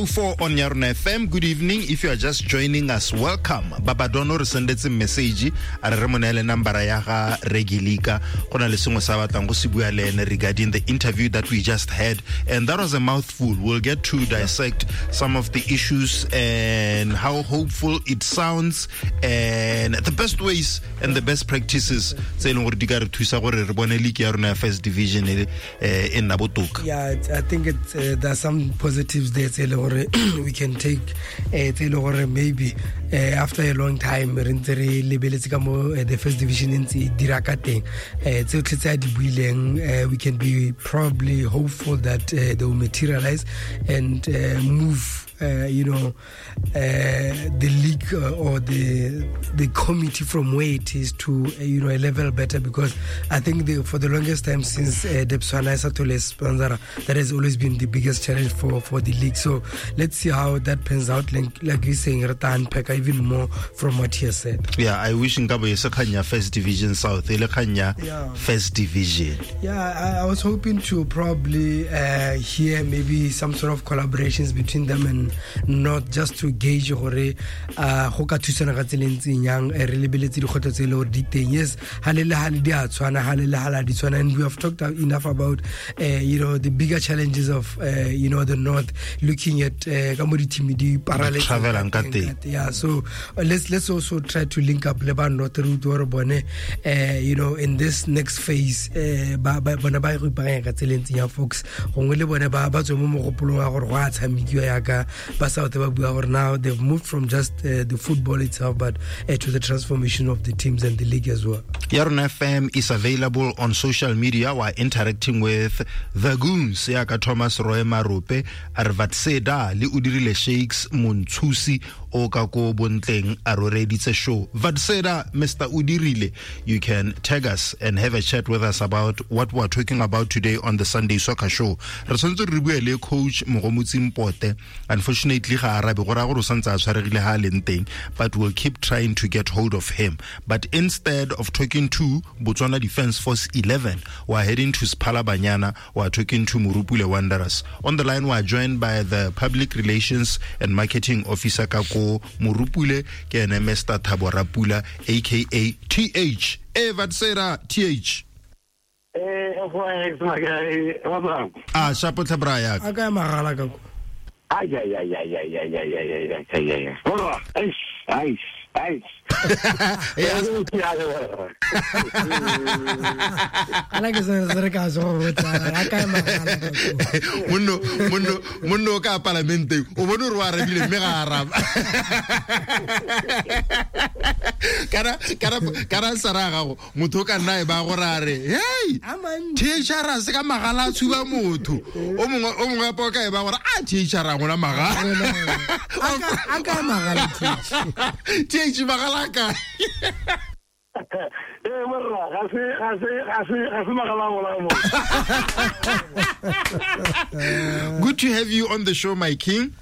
4 on Yarona FM. Good evening. If you are just joining us, welcome. Babadono re sendetse message a re re mo neele number ya ga Regilika go na le sengwe sa batlang go se bua le ene regarding the interview that we just had, and that was a mouthful. We'll get to dissect some of the issues and how hopeful it sounds and the best ways and the best practices tse e leng gore di ka re thusa gore re bone league ya rona ya first division e e nna botoka. Yeah, I think there's some positives there tse e leng gore we can take, tse e leng gore maybe after a long time re ntse re lebeletse ka mo the first division e ntse e dira ka teng. Tsotlhe tse a di buileng, we can be probably hopeful that they will materialize and move the league or the committee from where it is to a level better, because I think for the longest time since Debswana Satole sponsor, that has always been the biggest challenge for the league. So let's see how that pans out. Like you're saying, re tla unpack even more from what he has said. Yeah, I wish nka bo e se kgang ya First Division South, e le kgang ya First Division. Yeah, I was hoping to probably hear maybe some sort of collaborations between them, and not just to gauge gore go ka thusana ka tsela e ntseng yang, re lebeletse dikgwetlho tse e le gore di teng. Yes, ha le le ha le di a tshwana, ha le le ha la di tshwana, and we have talked enough about the bigger challenges of the North, looking at ka mo di-team di parallel travelang ka teng. Yeah, so let's also try to link up le ba North, re utlwe gore bone in this next phase ba bona ba go ipaakanya ka tsela e ntseng ya folks, gongwe le bone ba tswe mo mogopolong wa gore go a tshamekiwa yaka ba South ba bua gore now they've moved from just the football itself, but to the transformation of the teams and the league as well. Yarona FM is available on social media. We're interacting with the Goons yaka Thomas Roy Marope, Arvatseda le o dirile Shakes Montshusi o ka ko bontleng a roreditse show. Vatseda, Mr. Udirile, you can tag us and have a chat with us about what we're talking about today on the Sunday Soccer Show. Re tshwanetse re bue le coach Mogomotsi Mpote. Unfortunately ga arabe go raya gore o santse a tshwaregile ha a leng teng, but we'll keep trying to get hold of him. But instead of talking to Botswana Defence Force 11, we're heading to Sphala Banyana. We're talking to Morupule Wanderers. On the line, we're joined by the Public Relations and Marketing Officer Kako Morupule, ke ene Mr. Thabo Rapula, aka TH. Eh, Vatsera, TH. FYX, my guy. What's up? Ah, shapo tlhe bra ya ka. A ka magala ka ko. Ay, ay, ay, ay, ay, ay, ay, ay, ay, ay, ay, ay. Hold Aish, aish, aish. Ala ke se re ka se go botsa, a ka magala ka ko. Monno o ka palamenteng, o bone gore o arabile mme ga araba. Kana sara gago, motho o ka nna e ba gore a re, hey, A mantsi. THR a se ka magala a tshuba motho. O mongwe gape o ka e ba gore, a THR a gona magala. A ka magala TH. TH magala a kae? Eh, morra, ga se magala a gola mo. Good to have you on the show, my king.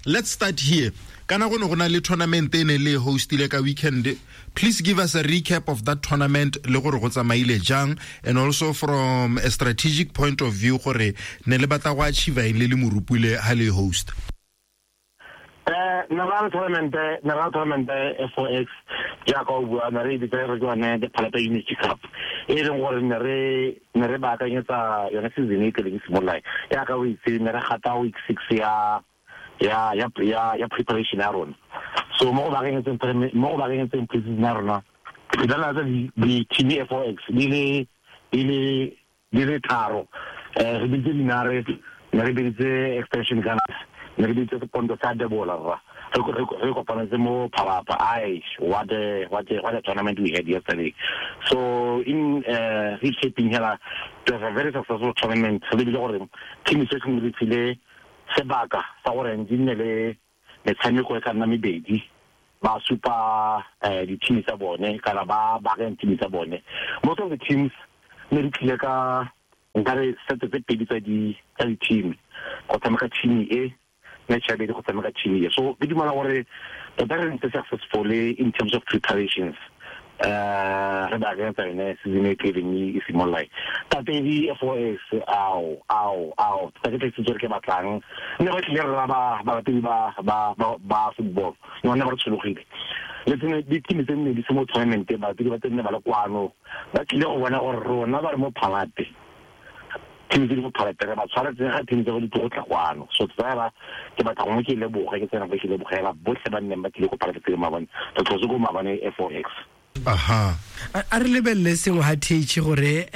Let's start here. Kana go ne go na le tournament e ne le hostile ka weekend. Please give us a recap of that tournament le gore go tsamaile jang, and also from a strategic point of view gore ne le batla go achieve eng le le Morupule ha le host. Ne ra tournament F4X jaaka o bua, ne re bitsa re ke yone the Palapa Unity Cup, e leng gore ne re baakanyetsa yone season e tleleng e simolola. Jaaka o itse, ne re gata week 6 ya preparation ya rona. So mo go baakanyetseng pre-season ya rona, re dala tsa di-team F4X di le tharo. Re biditse Dinare, ne re biditse Extension Gunners, ne re biditse Seponto sa Debola. Rra, re kopanetse mo Palapa. Ai, what a tournament we had yesterday. So in recapping hela, it was a very successful tournament. Re lebile gore team se sengwe re file sebaka sa gore di nne le metshameko e ka nna mebedi, ba supa di-team tsa bone kana ba baakanya team tsa bone. Most of the teams ne di tlile ka nkare set tse pedi tsa di-team go tshameka team e match ya bedi go tshameka team e. So ke dumela gore tota re ntse successful in terms of preparations. Re baakanyetsa yone season e tlebeng e simolola Tatedi FOS ao ao ao tota ke tletse ke batlang ne ba tlile rra ba balatedi ba ba ba football ne ba re tshologile le tsene di-team tse nne di se mo tournament, balatedi ba tse nne ba le kwano ba tlile go bona gore rona ba re mo Palate, team tse di mo Palate re ba tshwaretse ga team tse ba di tlo go tla kwano. So tota ke batla gongwe ke leboge, ke tsena ke lebogela botlhe ba nneng ba tlile ko Palate tse mabane, re tlhotse ko mabane FOX. Aha. A re lebelele sengwe ga th gore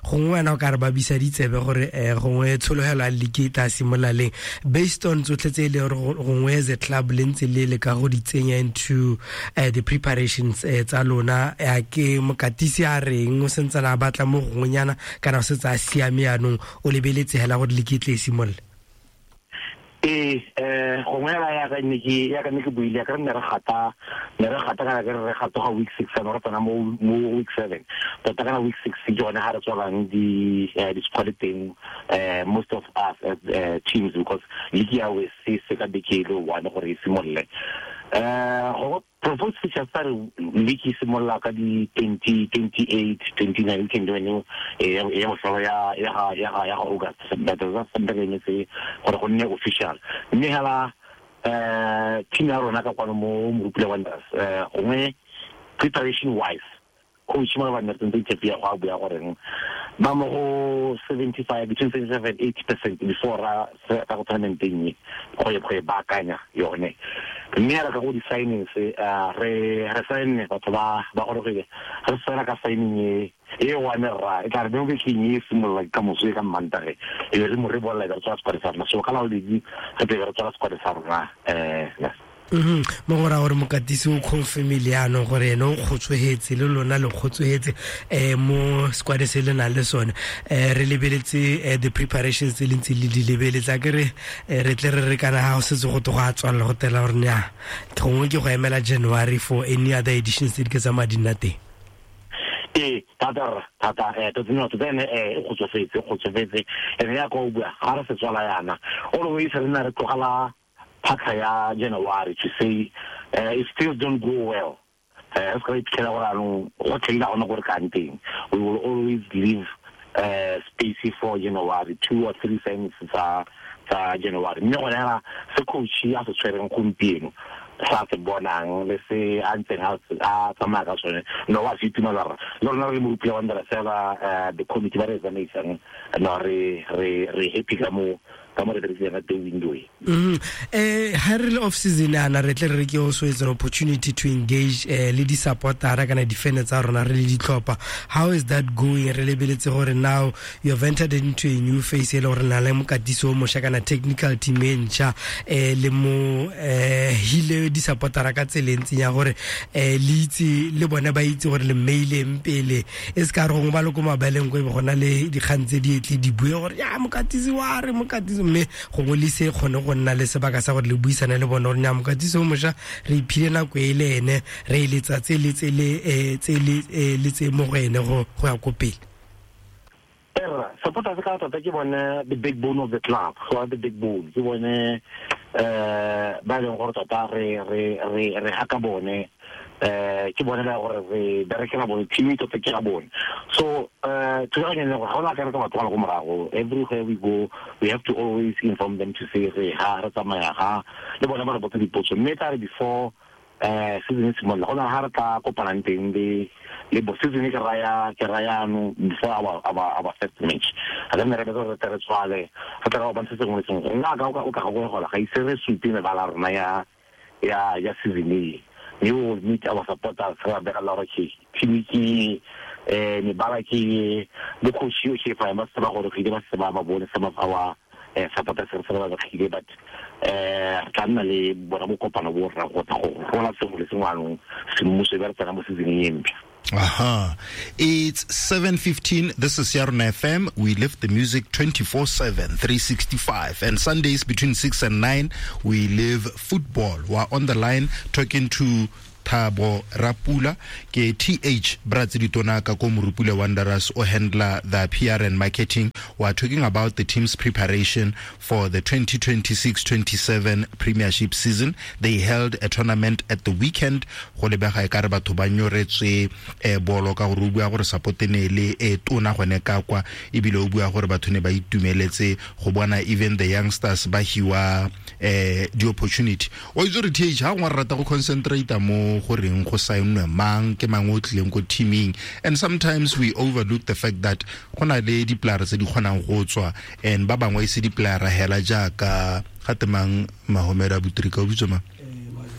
gongwe wena o ka re ba bisa ditsebe gore gongwe tshologelo ya league e tla simolola leng, based on tsotlhe tse e le gore gongwe as a club le ntse le le ka go di tsenya into the preparations tsa lona. A ke mokatisi a reng o sentsana a batla mo gongwenyana kana o setse a siame yanong o lebeletse hela gore league e tle e simolole? Ee, gongwe hela yaka ne ke yaka ne ke buile ka re ne re gata kana ke re gata ga week 6 re tsena mo week 7 tota kana week 6 ke yone ga re tswalang di squad teng, most of us as teams, because league ya we se se ka beke le one gore e simolole. Go propose features tsa re league e simolola ka di 20 28 29 ke ndone ya bofelo ya ya ya ya August, but that's something ne se gore go nne official. Mme hela team ya rona ka kwano mo Morupule Wanderers, gongwe preparation wise coach mo ba nne tse tse ya go a bua gore ba mo go 75, between 75 and 80% before ra ka go tournament e go e baakanya yone. Mme ra ka go di signings, re sign batho ba gorogile, re tsena ka signing e one ra e tla re beng ke e simolola ka moso e ka Mantage e re mo re bolla re tswa squad sa rona, so ka la o di re tle re tswa squad sa rona. Yes. Mo go raya gore mokatisi o confirmile yanong gore ene o kgotsogetse le lona le kgotsogetse mo squad se le nang le sone. Re lebeletse the preparations tse le ntse le di lebeletse, a ke re re tle re re kana ga o setse go to go a tswalela go tela gore nya gongwe ke go emela January for any other editions tse di ke tsamaya di nna teng. Ee, thata tota no tota ene e kgotsofetse ene ya ka o bua ga re se tswala yana always re nna re tlogela phatlha ya January to say if things don't go well, re se ka gore anong go tlhelela gona gore kang teng, we will always leave space for January, 2 or 3 cents tsa January. Mme gone hela se coach a se tshwereng gompieno sa se bonang le se a ntseng a tsamaya ka sone no wa se itumela rra le rona re le Morupule Wanderers fela, the committee ba re tsamaisang no re happy ka mo re berekisang ka teng window e. Ha re le off season ana re tle re ke also it's an opportunity to engage le di supportera kana di fans tsa rona re le ditlhopha. How is that going? Re lebeletse gore now you have entered into a new phase e le gore na le mokatisi o mosha kana technical team e ntšha le mo hile di supportera ka tsela e ntseng ya gore le itse le bone ba itse gore le maileng pele e se ka re gongwe ba le ko mabaleng ko e be gona le dikgang tse di etle di bue gore ya mokatisi wa re mokatisi, mme gongwe le se kgone go nna le sebaka sa gore le buisane le bone gore nya mokatisi o mošwa re iphile nako e le ene re e letsa tse le tse le tse le tse mo go ene go ya ko pele. Erra supporters ka tota ke bone the big bone of the club, go the big bone ke bone ba leng gore tota re haka bone, ke bone la gore re berekela bone, team tota ke ga bone. So thulaganyo e gore ga ona ka re ka batho ba go morago, everywhere we go we have to always inform them to say re ha re tsamaya ga le bone ba re botsa dipotso. Mme tla re before season e simolola go na ga re tla kopanang teng le bo season ke raya no before our first match re ne re re re tswale re tla go bontsha sengwe le sengwe nna ka o ka go gola ga ise re supe mebala rona ya season e. We will meet our supporters ra begela gore ke team ke mebala ke le coach yo ke fa ba se ba gore ke ba se ba bone some of our supporters re ba begile, but tla nna le bona bokopano bo rra go tla go rola sengwe le sengwe anong semmuso e ba re tsena mo season e mpšha. Aha. It's 7:15. This is Yarona FM. We live the music 24/7, 365. And Sundays between 6 and 9, we live football. We're on the line talking to Thabo Rapula ke TH Bratsi Ditona ka ko Morupule Wanderers o handler the PR and marketing. We are talking about the team's preparation for the 2026-27 Premiership season. They held a tournament at the weekend. Go lebega e kare batho ba nyoretswe bolo ka gore o bua gore support ne le e tona gone ka kwa, ebile o bua gore batho ne ba itumeletse go bona even the youngsters ba hiwa di opportunity. O itse re TH ha gongwe re rata go concentrate mo goreng go saenwe mang ke mang o tlileng ko teaming, and sometimes we overlook the fact that go na le di-player tse di kgonang go tswa and ba bangwe e se di-player hela jaaka gate mang Mahomeda Butrika o bitswa mang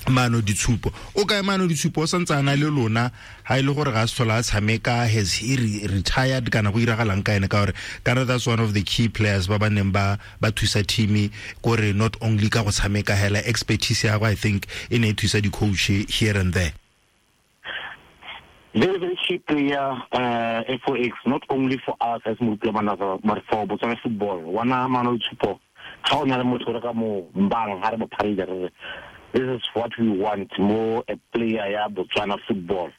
Mano Ditshupo. O kae Mano Ditshupo? O santse a na le lona ha e le gore ga a se tlhola a tshameka, has he retired kana go iragalang ka ene? Ka gore kana that's one of the key players ba ba neng ba thusa team kore not only ka go tshameka hela, expertise ya go I think e ne e thusa di-coach here and there. Very, very key player, FOX, not only for us as Morupule Wanderers, but for Botswana football. Wana Mano Ditshupo, ga o na le motho re ka mo mbang, ga re mo parade, re this is what we want, more a player ya Botswana football.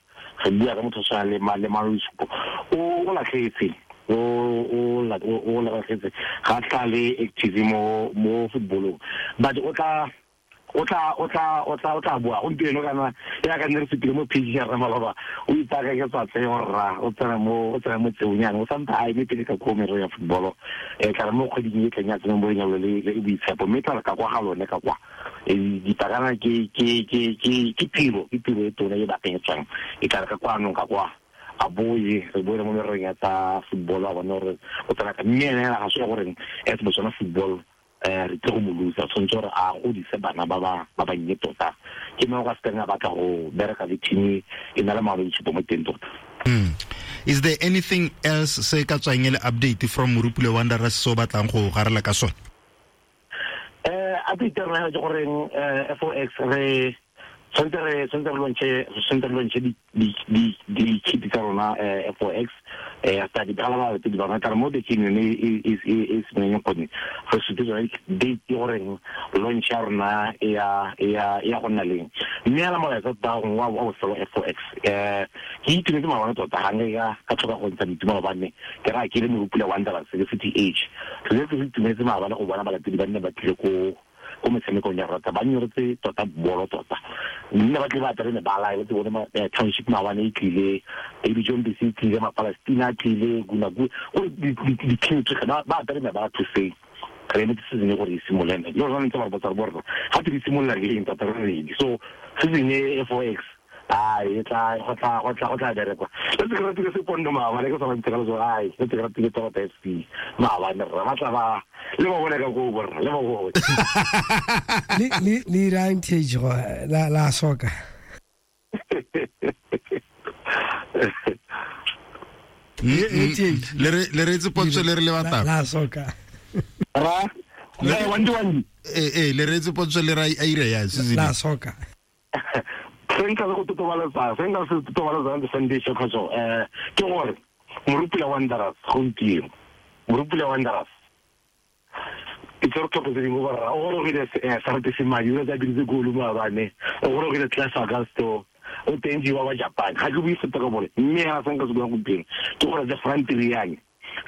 Re bua ka motho tshwana le Mano Ditshupo. O latlhetse, o latlhetse. Ga tla le active mo footballong. But o tla bua gompieno kana ya ka nne re supile mo page ya Ramaloba, o ipaka ke tsatse gore o tsena mo tseonyana, o santse a eme pele ka ko merero ya football. Tla re mo kgweding e tlang ya tsena mo lenyalo le boitshepo, mme tla re ka kwa ga lone ka kwa dipakana ke tiro e tona e baakanyetswang, e tla re ka kwa anong ka kwa a boye re boele mo mererong ya tsa football, a bone gore o tsena ka mme ene ga se goreng as Botswana football re tle go mo losa, tshwanetse gore a godise bana ba bannye tota. Ke mongwe ka sekeng a batla go bereka le team e na le Mano Ditshupo mo teng tota. Is there anything else se ka tswang e le update from Morupule Wanderers se o batlang go garela ka sone? Update rona ke goreng FOX re tshwanetse re launche di-kit tsa rona FOX tsa di bala ba di ba tla mo bekeng yone e senyeng gone re sutse tsone date goreng launch ya rona ya go nna leng. Mme ala molaetsa tota gongwe wa bofelo FOX ke itumetse maabane tota ga nke ka tlhoka go ntsha boitumelo ba nne ke raya ke le Morupule Wanderers le CTH. Re setse re itumetse maabane go bona balatedi ba nne ba tlile ko metshamekong ya rata, ba nyoretse tota bolo tota, mme ba tle ba apere mebala e bone township maabane e tlile, Baby John BC e tlile, Mapalestina a tlile, Gunagu, gore di-team tsotlhe ba apere mebala to say re emetse season e gore e simolole. Le rona ntse ba re botsa re borra ga te di simolola leng tota re ready. So season e FOX ai tla go tla berekwa. Le se ke ratile sepondo maabane ke sa bantse ka letso, ai le se ke ratile Tota FC maabane rra ba tla ba le ba bone ka ko borra le ba bone. Le irang TH go la soka. Le re tse potso le re le batla. La soka. Ra le wandi. Le re tse potso le ra a ire ya season. La soka. Se nka se go totobaletsa the foundation kgotso ke gore Morupule Wanderers gompieno, Morupule Wanderers e tsere tlhopho tse dingwe borra, o gorogile Sarate Semadi o tsa diritse golo maabane, o gorogile Class Augusto, o teng jiwa wa Japan. Ga ke bue sepe ka bone, mme ga se nka se buang gompieno ke gore the front three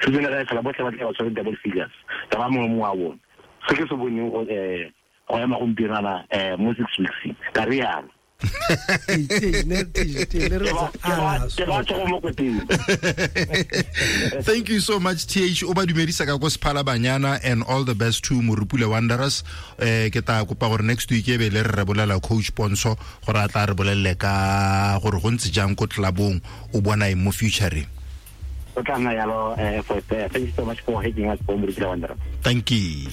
season ga e fela botlhe ba tla ba tshwere double figures tsa ba mongwe wa bone. Se ke se boneng go ema gompieno ana mo 6 weeks ka rialo. Thank you so much TH. O ba dumedisa ka ko Sephala Banyana, and all the best to Morupule Wanderers. Ke ta kopa gore next week e be le re bolela coach Ponso gore a tla re bolelle ka gore go ntse jang ko tlabong, o bona eng mo future. O tla nna yalo. Thank you so much for having us for Morupule Wanderers. Thank you.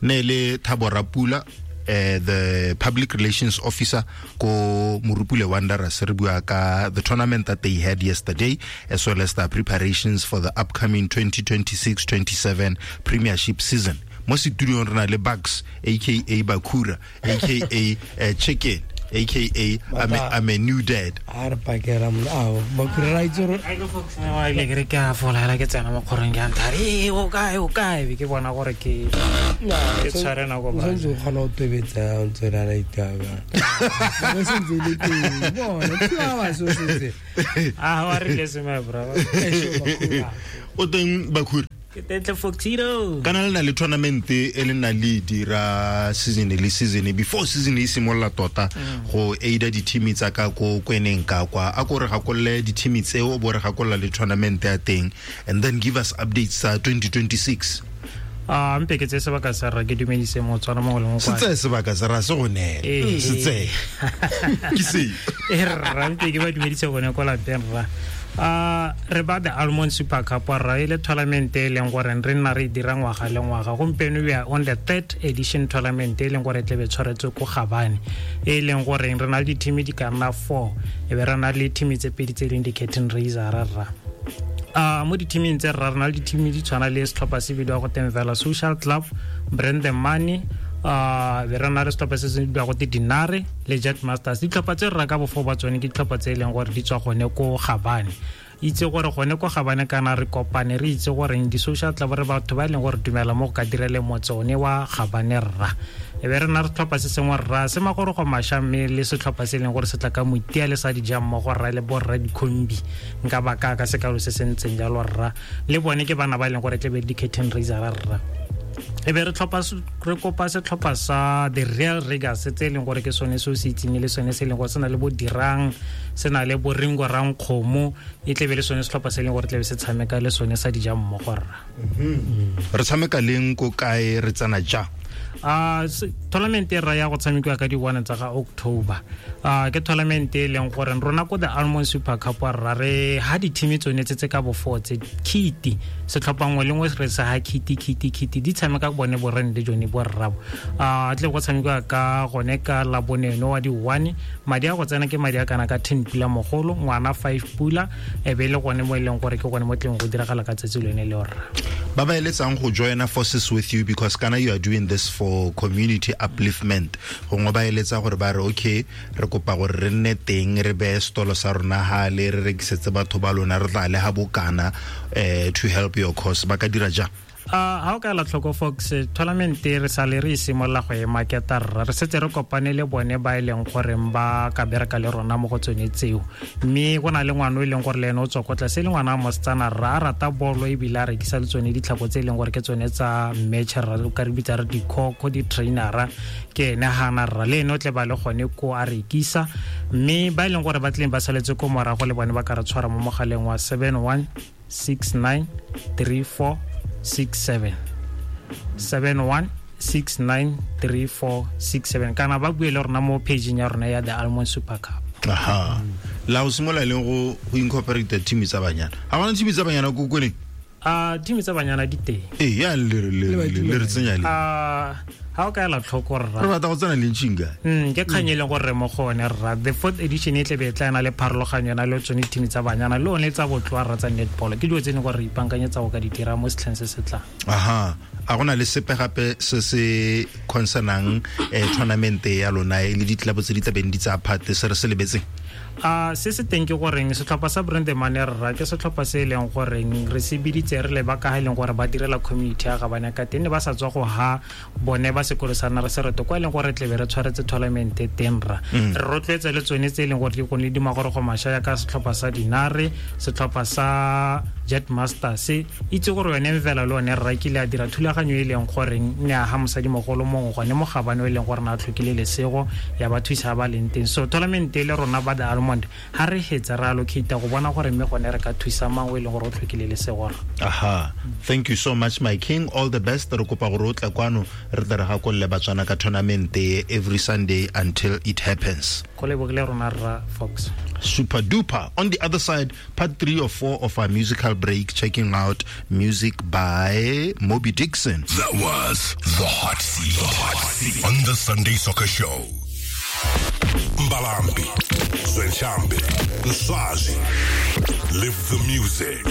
Ne le Thabo Rapula, the public relations officer ko Morupule Wanderers, re bua ka the tournament that they had yesterday, as well as the preparations for the upcoming 2026-27 Premiership season. Mo studio re na le Bucks aka Bakura aka Chicken. Aka I'm a new dad. A re pakela monna ao Makhura ra itse gore a ke Fox wa ile ke re ke a fola hela ke tsena mo kgorong ke a nthare, "Eh, o kae, o kae?" Be ke bona gore ke tshware nako o ba. Santse o kgona go tobetsa o ntse o rala ditaba o sentse e le teng bona 2 hours o setse. Ah, wa rile se, my bro. O teng, Bakhuri? Ke tentle, Foxito. Kana le na le tournament e le na le dira season le season before season e simolola tota go aida di-team tsa ka ko kweneng ka kwa. A ko re gakolole di-team tseo, bo re gakolola le tournament ya teng, and then give us updates tsa 2026. A mpe ke tse sebaka sa rra ke dumedise Motswana mongwe le mongwe Se kwa. tseye sebaka se ra se go neela. Ee. Se tseye ke se. E rra, mpe ke ba dumedise gone kwa lapeng rra. Re ba the Almond Super Cup rra, e le tournament e leng gore re nna re e dira ngwaga le ngwaga. Gompieno we are on the third edition tournament e leng gore e tlebe tshwaretswe ko Gabane, e leng gore re na le di-team di ka nna four, e be re na le team tse pedi tse e leng di-curtain raiser rra. Mo di-teaming tse rra, re na le di-team di tshwana le setlhopha se bidiwa go teng Vela Social Club, Brand the Money, be re na le setlhopha se se bidiwa go te Dinare le Jet Masters. Ditlhopha tse rra ka bofo ba tsone ke ditlhopha tse e leng gore di tswa gone ko Gabane. Itse gore gone ko Gabane kana re kopane, re itse gore di-social club re batho ba e leng gore dumela mo go ka direle motse one wa Gabane rra. E be re na re setlhopha se sengwe rra se magorogo mašwa, mme le setlhopha se e leng gore se tla ka motia le sa dijang mmogo rra le borra dikhombi, nka ba ka sekalo se se ntseng jalo rra. Le bone ke bana ba e leng gore tlebe di-curtain raiser rra. E be re tlhopha re kopa setlhopha sa the Real Riggers tse e leng gore ke sone se o se itseng, e le sone se e leng gore se na le bo Dirang, se na le bo Ringo Rankgomo, e tlebe le sone setlhopha se e leng gore tlebe se tshameka le sone sa dija mmogo rra. Re tshameka leng, ko kae, re tsena jang? Tournament e raya go tshamekiwa ka di-1 tsa ga October. Ke tournament e leng gore rona ko the Almond Super Cup wa rra, re ha di-team tsone tse tse ka bofo tse kiti, setlhopha nngwe le nngwe re sa ha kiti kiti kiti di tshameka bone borende jone bo rrabo. Tle go tshamekiwa ka gone ka Laboneno wa di-1. Madi a go tsena ke madi a kana ka 10 pula mogolo, ngwana 5 pula, e be e le gone mo e leng gore ke gone mo tleng go diragala ka tsatsi lone le rra. Ba ba eletsang go joina forces with you, because kana you are doing this for community upliftment, gongwe ba eletsa gore ba re, okay, re kopa gore re nne teng, re beye setolo sa rona hale, re rekisetse batho ba lona, re tla le ha bokana to help your cause, ba ka dira jang? Ha o ka ela tlhoko, Fox, tournament e re sale re e simolola go e marketa rra, re setse re kopane le bone ba e leng gore ba ka bereka le rona mo go tsone tseo. Mme go na le ngwana o e leng gore le ene o tswa ko tlase, e le ngwana wa mosetsana rra, a rata bolo ebile a rekisa le tsone ditlhako tse e leng gore ke tsone tsa match rra, o ka re bitsa re dikhokho, di-trainera ke ene gana rra, le ene o tle ba le gone ko a rekisa. Mme ba e leng gore ba tleng ba saletse ko morago, le bone ba ka re tshwara mo mogaleng wa 71 69 34 67, 71 69 34 67, kana ba bue le rona mo pageng ya rona ya the Almond Super Cup. Aha, la o simolola leng go incorporate team tsa banyana? Ga gona team tsa banyana ko kweneng? Team tsa banyana di teng. Ee, ya le re tsenya le. Ha o ka ela tlhoko rra, re batla go tsena lentšhing kae? Ke kgang e leng gore re mo go one rra. The fourth edition e tlebe e tla ena le pharologanyo ena le tsone team tsa banyana le one tsa botloa rra tsa netball. Ke dilo tse e leng gore re ipankanyetsa go ka di dira mo setlheng se se tlang. Aha, a gona le sepe gape se se concernang tournament ya lona e le ditlelabo tse di tlabeng di tsaya part se re se lebetseng? A se se teng ke goreng setlhopha sa Brandemane rra ke setlhopha se e leng goreng re se biditse re leba ka ga e leng gore ba direla community ya ga bana ka teng, ne ba sa tswa go ha bone ba sekolo sa nna re sereto kwa e leng gore tlebe re tshwaretse tournament teng rra. Re rotloetsa le tsone tse e leng gore di kgone di magorogo mašwa yaka setlhopha sa Dinare, setlhopha sa Jet Masters. Itse gore yone fela le one rra kile a dira thulaganyo e leng goreng ne a ha mosadimogolo mongwe gone mo Gabane o e leng gore na a tlhokile lesego ya ba thusa ba leng teng. So tournament e le rona ba the Almond ha re hetsa re allocate go bona gore mme gone re ka thusa mang o e leng gore o tlhokile lesego rra. Aha, thank you so much, my king, all the best. Re kopa gore o tla kwano re tle re gakolole Batswana ka tournament e every Sunday until it happens. Go lebogile rona rra Fox. Super duper. On the other side, part 3 or 4 of our musical break, checking out music by Mobi Dixon. That was The Hot Seat. The Hot Seat on the Sunday Soccer Show. Mbalambi, Zwenshambi, Nswazi. Live the music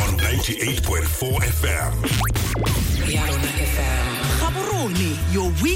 on 98.4 FM. Yarona FM. Gaborone, your week